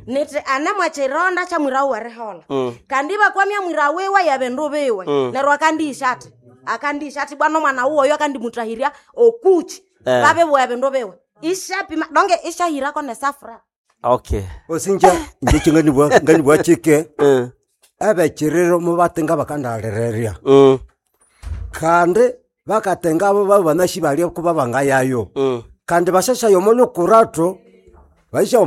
Niti ane mwachironda cha mwira wewe rihola. Kandi bakwamya mwira wewe ya bindu biwe. Neryo akandisha ati akandisha ati bwana mwana uwoyo akandimutahirya okuchi. Eh. Babe bwa bindu biwe. Ishapima donge ishahirako nesafra. Okay. Osinja nje chinganibwa nganibwa chike abechiriro mubatenga bakandalereria kandi bakatenga abo babo banashi balia kuba bangayayo kandi bashasha yomo lukurato baisha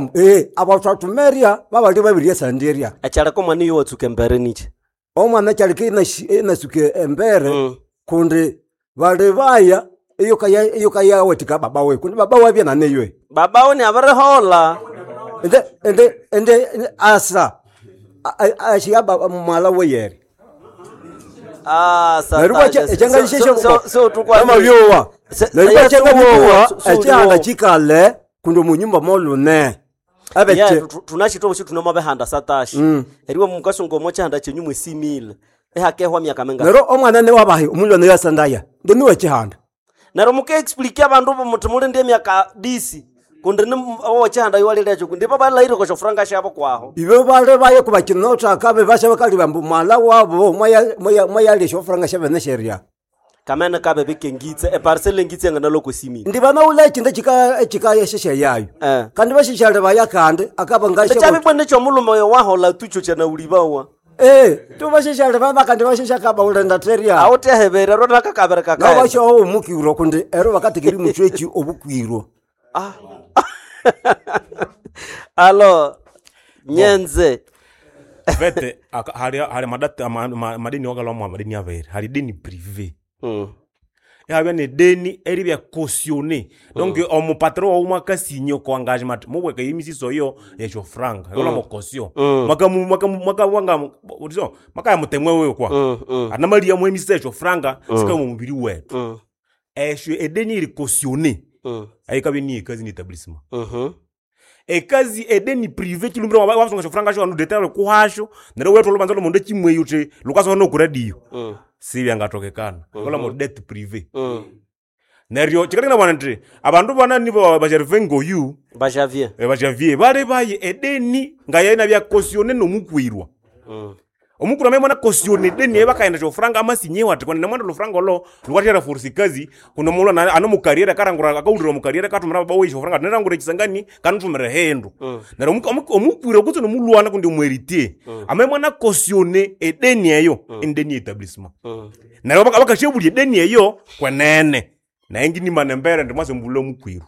abatwatumeria babali babiria sandiria Acharako mwana iyo watsuka embere niche. omwana kyalike inasuke embere kundi bali baya iyo kaya iyo kaya wetika baba we kundi baba wabya naneywe Baba ni abarihola. ende ende ende asa ashiya baba mwala weyere Ah, Neryo So tukwa amabyowa neryo Se- kyangabyowa so- so- ekyihanda kikale kundi omunyumba molune Yeah, abeche tunashitwa bushi tunamabehanda satashi. Eriwe mukasunga omo chihanda chenyu mwesimile. Ehakehwa myaka minga. neryo omwana newabahi omulwane yasandaya ndiniwe chihanda Neryo mukaexplique abandu muthi mulinde emyaka disi kundi ni owachihanda iwalilecho kundi babalaire kosho franga shabo kwaho. ibe bale baye kubakinotaka bebasha bakali bambu mwala wabo mwayalesha ofuranga shabene sheria Kamene kabe bikengitse eparcel engitse ngana loko simile. ndi banaula ekindu ekikayeshesha yayo kandi bashishale baya kandi akaba ngasha Ekyabibwene kyomulume oyo wahola tucho chanaulibawa. tubashishale baba kandi bashishaka baulenda teria Awutehebere rona kakabere kakae. nabashaho omukirwa kundi ero bakatekeri muchwechi obukwirwa Alo nyenze vete hali hali madata madeni wakalwa madeni avere hali deni privé yabya ne deni eribya cautionné donc omupatro wawu mwakasinye ko engagement mubweka yimisiso yo yecho franga yola mo caution mwaka mwaka mwaka wanga disons maka ya mutemwe wewe kwa anamali ya mwemisiso yecho franga sika mu mubiri wetu. Esyo edeni eri cautionné ayikabya niye ekazi ni etablissement. Ekazi edeni privé chilumbira wasunga esyofuranga syawu nudetera kuhasyo neryo iwetha olhubanza lwomundu ekimweya wuthi lhukasoha noku radio. Sibyangathokekana. Ngolha mo dette privé. Neryo kyikaleka inabugha indi abandu banani ba Gervais ngoyu ba Javier. Ba Javier bali baye edeni ngaye inabya cautionné nomukwirwa. Omukwirwa amabya imwana cautionne edeni eyo bakaghenda esyofuranga amasinyewo athi kwenene mwenda olhufuranga olho lhukathya force kazi kundi omulhwana ane omukarriere akarangura akawulira omukarriere akathumira baba wiwe esyofuranga athi ndirangura ekisangani kanithumira ehindu. Neryo omukwirwa kutse nomulhwana kundi omuheritier amabya imwana cautionne edeni eyo ini deni ye etablissement. Neryo bakasyabulya edeni eyo kwenene. Nayi nginimana embere indi mwase mbulha omukwirwa.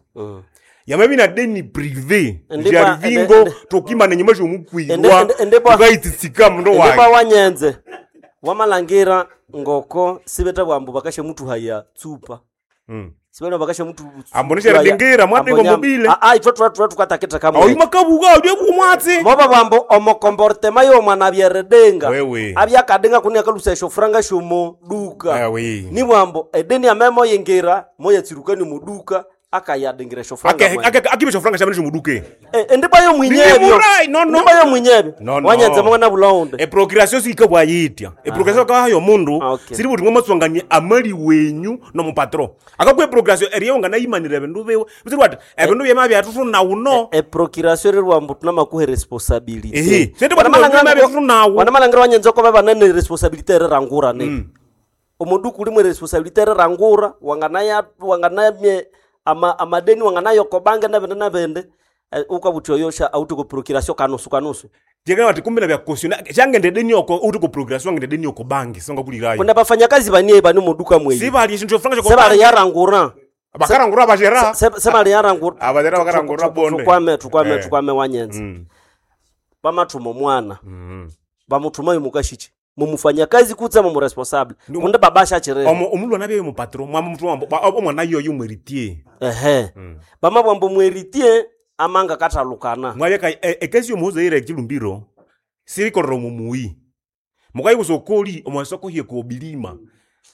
Yamabya ina deni privé Jarvingo tokimana enyuma syomukwirwa tukayitsitsika mundu Ndibwa wayi. Wanyenze wamalangira ngoko sibete bwambu bakashamutuhaya tsupa. Sibene bakashamutu Ambo nisharidingira, mwadinga mobile. Ah, itwe twa tukatakita kamwe. Ayi makabuga uli bumwatsi. Moba bwambo omokomportema y'omwana abyeredenga. Wewe. Abyakadinga kuni akalusa esyofuranga syomo duka. Ewe. Ni bwambo edeni amemo yingira moyatsirukani muduka akayadingira esyofuranga. Akibe esyofuranga syamene syomuduke. Endiba yomwinyebyo. Nimurai, no, no. Ndiba yomwinyebyo. No, no. Wanyenze mwana bulonde. Eprocreation sikabwayitya. Eprocreation kahayo omundu siri buti mwamaswangania amali wenyu nomupatro. Akakwa eprocreation eriyo nganayimanira ebindu biwe. Bisiri bati ebindu byema byathuthuna uno. Eprocreation riri mbu tunamakuhe responsibility. Ehe, sente bati mwa byathuthuna. Wanamalhangira wanyenze ko babanene responsibility erirangura ne. Omuduku ulimwe responsibility erirangura wanganaya wanganamye ama amadeni wanganayo bange nabende nabende ukabuthi oyosha auti ku procuration kanusu kanusu. Jekana bati kumbe nabya cautionne syangende deni oko uti ku procuration wangende deni oko bangi songa kulirayo. Kuna bafanyakazi banie bani muduka mweyi. Sibali esyindu syofuranga syoko Sebali bangi. yarangura. Bakarangura bashera. Sebali yarangura. Abashera bakarangura bonde. Tukwame tukwame tukwame wanyenze. Bamathuma omwana. Bamuthuma mukashichi. Mumufanyakazi kutse mumuresponsable. Kundi babasha chirere. Omo omulwana bye mupatro mwamuthuma omwana yoyo mweritier. Ehe. Bamabwambo mweritier amanga kathalukana. Mwabya ekesi yomuhuza yire echilumbiro sirikorera omumuyi. Mukayikusa okoli omwasoko hie kobilima.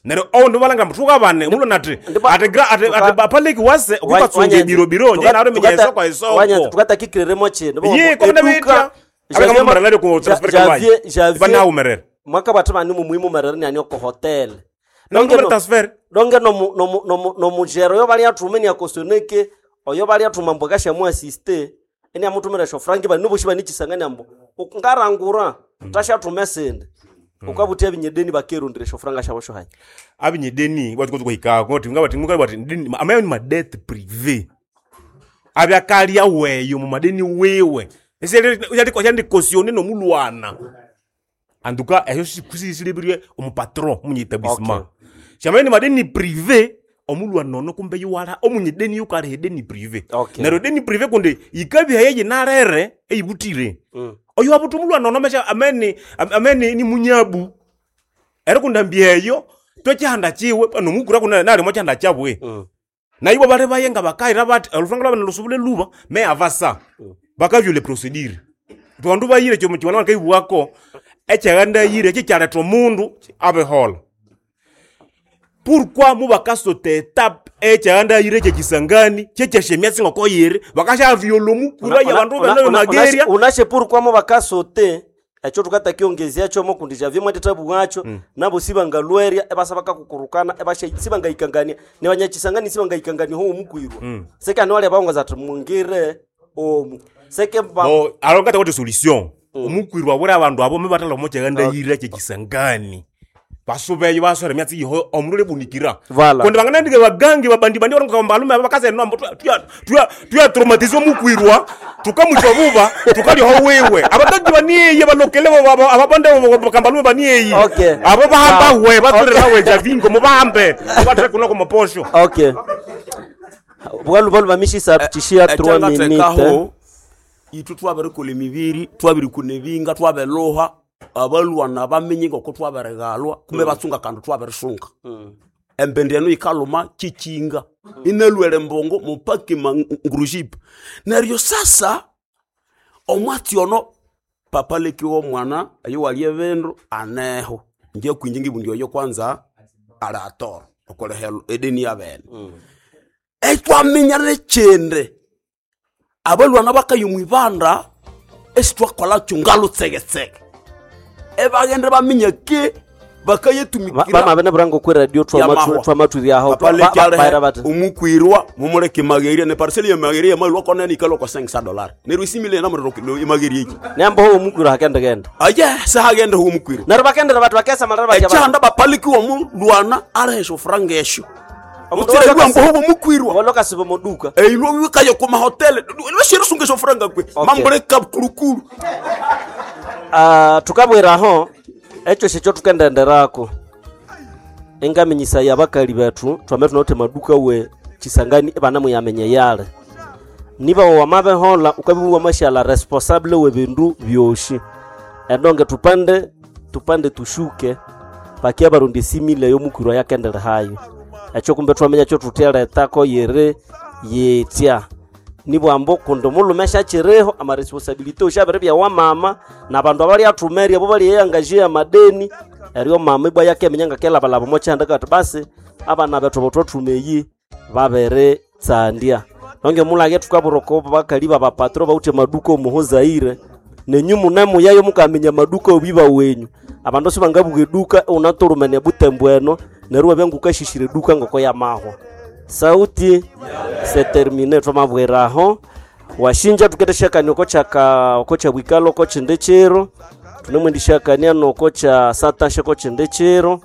Neryo oundi balanga muthuka bane omulwana ati ati ati ati bapaleki wase okukatsonga ebirobiro nje naro minya esoko esoko. Tukatakikireremo chino. Ye, komena betya. Abakamumerera ku transfer kambayi. Banawumerera. Mwaka bathu bani mumuhimu merere ni oko hotel. Nonge transfer. Donge no no no no mujero yo bali athume ni akosoneke oyo bali athuma mbo kashamu assiste eni amuthumira sho franki bani noboshi bani chisangani ambo ukungarangura tashathume sende. Ukabuthi abinyedeni bakerundire sho franga shabo sho hayi. Abinyedeni bati kuhika ngoti ngabati ngabati ndini amayo ni madette privé. Abyakalia weyo mu madeni wewe. Esere yandi cautionne nomulwana. Anduka eyo sikusisilibirie omupatron munye etablissement. Shamani madeni privé omulwana nono kumbe yuwala omunye deni yukale deni privé. Neryo deni privé kundi ikabya yeyi narere eyibutire. Oyo wabuthi omulwana ono mesha amene amene ni munyabu. Ero kundambia eyo twekihanda chiwe nomukura kuna nali mochihanda chabwe. Naibo bali bayenga bakaira bati olufanga lwabana lusubule luba me avasa. Bakavyule procedure. Bandu bayire kyo mukibona bakaibwako ekyaganda yire kikyaletha omundu abehola. Pourquoi mubakasote etape ekyaganda yire kyekisangani kyekyashemya singoko yire bakashavyola omukura yabandu bene mageria Unashe pourquoi mubakasote ekyo tukatakiongezea kyomo kundi javye mwatitabu wacho nabo sibangalwerya ebasa bakakukurukana ebasha sibangayikangania ne banyachisangani sibangayikangania ho omukwirwa. Seke ani wale baongoza ati mungire omu. Seke ba Bo alongata kuti solution. Omukwirwa bura abandu abo mebathala omukyaganda yire kyekisangani. Basubeyo basore myatsi yiho omundu lebunikira. Vala. Kundi banganandike bagangi babandi bandi baronga mbalume abakaze no tuya tuya tuya traumatize omukwirwa tukamuchwa buba tukalyoho wewe. Abagangi baniye balokele ababande bakambalume baniye. Okay. Abo bahamba we batulera we javingo mubahambe. Batule kuno komaposho. Okay. Bwalu balu bamishisa tishia 3 minutes. Ekyangathekaho ithwe twabirikola emibiri twabirikuna ebinga twabiluha abalwana bamenye ngoko twabirigalwa kumbe batsunga kandi twabirisunga. Embende eno yikaluma kikinga inalwele embongo mupaka ngurujipa. Neryo sasa omwatsi ono papa lekiwa omwana eyo walya ebindu aneho inje kwinje ngibundi oyo kwanza ali atoro. Okolehelo edeni yabene. Etwaminya nekindi abalwana bakaya omwibanda esitwakolakyo ngalutsegetsege ebaghende baminya ke bakayetumikira Bamabene burango kwe radio twamatwiryaho baira bati omukwirwa mumuleke mageria ne parcel ya mageria malwa kona nikalo kwa 500 dollars neryo isimile namuriro imageria iki nembo ho omukwirwa hakendegenda aye sahagenda ho omukwirwa neryo bakendera bati bakesamalira batya ekyanda bapalikiwa omulwana alehesha ofuranga esyo mutsiregwa mbo ho omukwirwa walokasiba moduka eilwa wikaye ku mahotele lweshirisunga esyo furanga kwe mamuleka kulukulu. Ah, tukabwiraho ekyo syekyo tukendenderako engaminyisa abakali bethu twame tunawithe maduka we chisangani ibanamuyamenya yale niba wamabehola ukabiwa mashala responsable we bindu byoshi endonge tupande tupande tushuke pakia barundi simile yomukwirwa yakendere hayo ekyo kumbe twamenya kyo tutheletako yiri yitya nibwambo kundi omulhume syakiriho amaresponsability oshabiri bya mama nabandu abalyaathumerya abo balyeyangajiya amadeni eryo mama ibwa yakeminya ngakelabalaba omo kyihanda kati basi abana bethu abathwathuma eyi babiritsandya nonge mulage thukabura oko bakali babapatro bawithe amaduka omuho Zaire nenyu munemuyayo mukaminya amaduka obiba wenyu abandu sibangabuka eduka unatulumene butembo eno neryo wabya ngukashishira eduka ngoko yamahwa sauti se termine twamabwiraho washinja tuketeshakania oko kyaka oko kyabwikalo oko kyindi kiro tunemwendishakania noko kya satasha oko kyindi kiro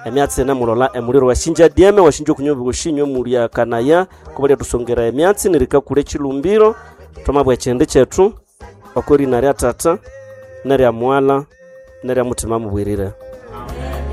emyatsi ene mulola emuliro washinja dieme washinja okunywa obushinywe mulya kanaya kubalya tusongera emyatsi nerikakula ekilumbiro twamabwa ekyindi kyethu oko rina rya tata nerya mwala nerya mutima mubwirire.